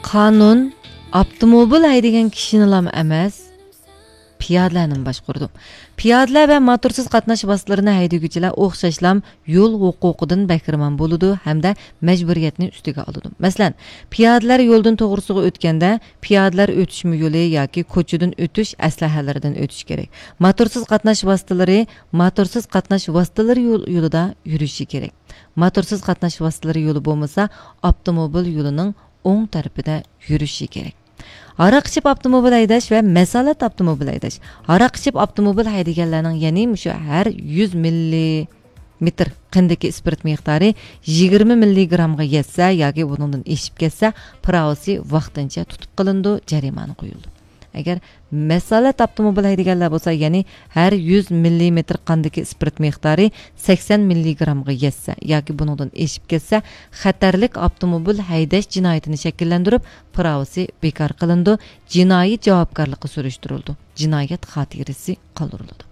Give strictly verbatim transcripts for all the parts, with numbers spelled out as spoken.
قانۇن ئاپتوموبىل ھەيدىگەن كىشىنىلام ئەمەس، پىيادىلەرنىمۇ باشقۇرىدۇ. پىيادىلەر ۋە موتورسىز قاتناش ۋاسىتىلىرىنى ھەيدىگۈچىلەر ئوخشاشلام يول ھوقۇقىدىن بەھرىمەن بولىدۇ ھەمدە مەجبۇرىيەتنى ئۈستىگە ئالىدۇ. مەسىلەن، پىيادىلەر يولدىن توغرىسىغا ئۆتكەندە، پىيادىلەر ئۆتۈشمە يولى ياكى كوچىدىن ئۆتۈش ئەسلىھەلىرىدىن ئۆتۈش كېرەك. موتورسىز قاتناش ۋاسىتىلىرى موتورسىز قاتناش ۋاسىتىلىرى يول-، يولىدا يۈرۈشى كېرەك. موتورسىز قاتناش ۋاسىتىلىرى يولى بولمىسا، ئاپتوموبىل يولىنىڭ ئوڭ تەرىپىدە يۈرۈشى كېرەك. ھاراق ئىچىپ ئاپتوموبىل ھەيدەش ۋە مەسالەت ئاپتوموبىل ھەيدەش. ھاراق ئىچىپ ئاپتوموبىل ھەيدىگەنلەرنىڭ، يەنى مۇشۇ ھەر يۈز مىللىمېتىر قېنىدىكى ئىسپىرت مىقدارى يىگىرمە مىللىگرامغا يەتسە ياكى بۇنىڭدىن ئېشىپ كەتسە، پىراۋىسى ۋاقتىنچە تۇتۇپ قېلىنىدۇ، جەرىمانە قويۇلىدۇ. ئەگەر مەسالەت ئاپتوموبىل ھەيدىگەنلەر بولسا، يەنى ھەر يۈز مىللىمېتىر قاندىكى ئىسپىرت مىقدارى سەكسەن مىللىگرامغا يەتسە ياكى بۇنىڭدىن ئېشىپ كەتسە، خەتەرلىك ئاپتوموبىل ھەيدەش جىنايىتىنى شەكىللەندۈرۈپ، پىراۋىسى بىكار قىلىنىدۇ، جىنايى جاۋابكارلىققا سۈرۈشتۈرۈلىدۇ، جىنايەت خاتىرىسى قالدۇرۇلىدۇ.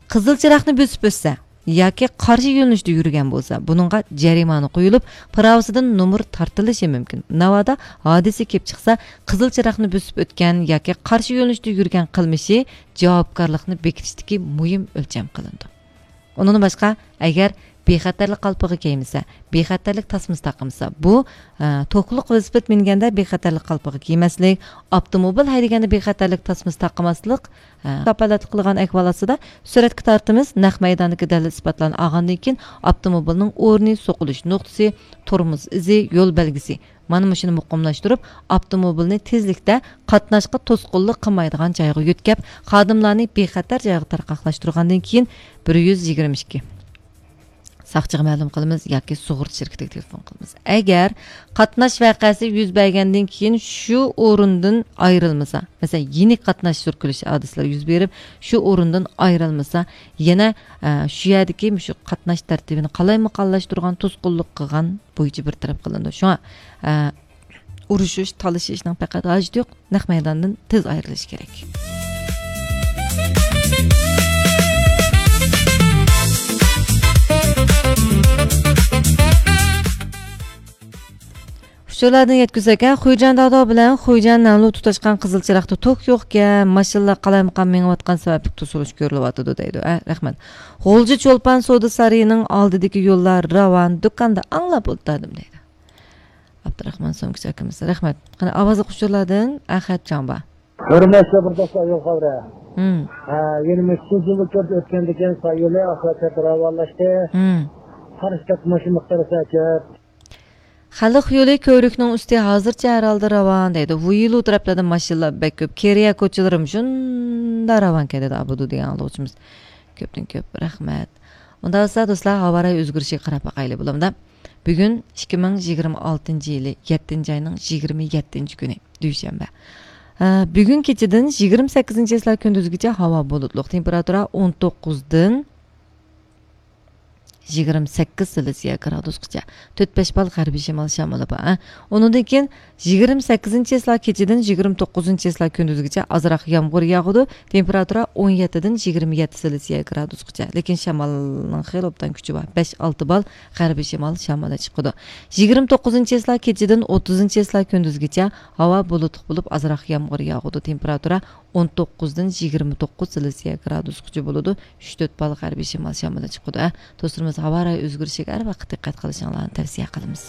قىزىل چىراغنى بۆسۈپ ئۆتسە ياكى قارشى يۆنىلىشتە يۈرگەن بولسا، بۇنىڭغا جەرىمانە قويۇلۇپ، پىراۋىسىدىن نومۇر تارتىلىشى مۇمكىن. ناۋادا ھادىسە كېلىپ چىقسا، قىزىل چىراغنى بۆسۈپ ئۆتكەن ياكى قارشى يۆنىلىشتە يۈرگەن قىلمىشى جاۋابكارلىقنى بېكىتىشتىكى مۇھىم ئۆلچەم قىلىنىدۇ. ئۇنىڭدىن باشقا، ئەگەر بىخەتەرلىك قالپىقى كىيمىسە، بىخەتەرلىك تاسمىسى تاقىمىسا، بۇ، ئە، توكلۇق ۋېلىسىپىت مىنگەندە بىخەتەرلىك قالپىقى كىيمەسلىك، ئاپتوموبىل ھەيدىگەندە بىخەتەرلىك تاسمىسى تاقىماسلىق، ھە، كاپالەتلىك قىلغان ئەھۋال ئاستىدا سۈرەتكە تارتىمىز، نەق مەيداندىكى دەلىل ئىسپاتلارنى ئالغاندىن كېيىن ئاپتوموبىلنىڭ ئورنى، سوقۇلۇش نۇقتىسى، تورمۇز ئىزى، يول بەلگىسى، مانا مۇشۇنى مۇقىملاشتۇرۇپ، ئاپتوموبىلنى تېزلىكتە قاتناشقا توسقۇنلۇق قىلمايدىغان جايغا يۆتكەپ، خادىملارنى بىخەتەر جايغا تارقاقلاشتۇرغاندىن كېيىن، بىر يۈز يىگىرمە ئىككى ساقچىغا مەلۇم قىلىمىز ياكى سۇغۇرتا شىركىتىگە تېلېفون قىلىمىز. ئەگەر قاتناش ۋەقەسى يۈز بەرگەندىن كېيىن شۇ ئورۇندىن ئايرىلمىسا، مەسىلەن، يېنىك قاتناش سۈركىلىش ھادىسىلىرى يۈز بېرىپ، شۇ ئورۇندىن ئايرىلمىسا، يەنە، ئە، شۇ يەردىكى مۇشۇ قاتناش تەرتىپىنى قالايمىقانلاشتۇرغان، توسقۇنلۇق قىلغان بويىچە بىر تەرەپ قىلىنىدۇ. شۇڭا، ئە، ئۇرۇشۇش، تالىشىشنىڭ پەقەت ھاجىتى يوق، نەق مەيداندىن تېز ئايرىلىش كېرەك. ئۇچۇرلاردىن يەتكۈزسەك، ھە، خۇيجەن داۋداۋ بىلەن خۇيجەن نەنلۇ تۇتاشقان قىزىل چىراغدا توك يوقكەن، ماشىنىلار قالايمىقان مېڭىۋاتقان سەۋەبلىك توسۇلۇش كۆرۈلۈۋاتىدۇ دەيدۇ. ھە، رەھمەت. غۇلجا چولپان سودا سارىيىنىڭ ئالدىدىكى يوللار راۋان، دۇكاندا ئاڭلاپ ئولتۇردۇم دەيدۇ. ئابدۇراخمان سومكىچى ئاكىمىز، رەھمەت. قېنى، ئاۋازلىق ئۇچۇرلاردىن ئەخەت جاڭبا. ھۆرمەتلىك بىرداشلار، يول خەۋىرى. ھە، يەنە مۇشۇ سۇزۇلۇپ كۆرۈپ ئۆتكەندىن كېيىن ساي يولى ئاخىرى راۋانلاشتى. قارشى تەرەپ ماشىنا مىقدارى كۆپ. خەلق يولى كۆۋرۈكنىڭ ئۈستى ھازىرچە ھەر ھالدا راۋان دەيدۇ. ۋۇيلۇ تەرەپلەردە ماشىنىلار بەك كۆپ. كېرىيە كوچىلىرىمۇ شۇنداق راۋانكەن دەيدۇ ئابۇدۇ دېگەن ئاڭلىغۇچىمىز. كۆپتىن كۆپ رەھمەت. ئۇنداق بولسا دوستلار، ھاۋا رايى ئۆزگىرىشىگە قاراپ باقايلى بولامدا. بۈگۈن ئىككى مىڭ يىگىرمە ئالتىنچى يىلى يەتتىنچى ئاينىڭ يىگىرمە يەتتىنچى كۈنى، دۈشەنبە. ئە، بۈگۈن كېچىدىن يىگىرمە سەككىزىنچى چىسلا كۈندۈزگىچە ھاۋا بۇلۇتلۇق، تېمپېراتۇرا ئون توققۇزدىن يىگىرمە سەككىز سېلسىيە گرادۇسقىچە، تۆت بەش بال غەربىي شىمال شامىلى بار. ئە، ئۇنىڭدىن كېيىن يىگىرمە سەككىزىنچى چىسلا كېچىدىن يىگىرمە توققۇزىنچى چىسلا كۈندۈزگىچە ئازراق يامغۇر ياغىدۇ. تېمپېراتۇرا ئون يەتتىدىن يىگىرمە يەتتە سېلسىيە گرادۇسقىچە. لېكىن شامالنىڭ خېلى ئوبدان كۈچى بار. بەش ئالتە بال غەربىي شىمال شامىلى چىقىدۇ. يىگىرمە توققۇزىنچى چىسلا كېچىدىن ئوتتۇزىنچى چىسلا كۈندۈزگىچە ھاۋا بۇلۇتلۇق بولۇپ، ئازراق يامغۇر ياغىدۇ. تېمپېراتۇرا ئون توققۇزدىن يىگىرمە توققۇز سېلسىيە گرادۇسقىچە بولىدۇ. ئۈچ تۆت بال غەربىي شىمال شامىلى چىقىدۇ. ئە، دوستلىرىمىز، ھاۋا رايى ئۆزگىرىشىگە ھەر ۋاقىت دىققەت قىلىشىڭلارنى تەۋسىيە قىلىمىز.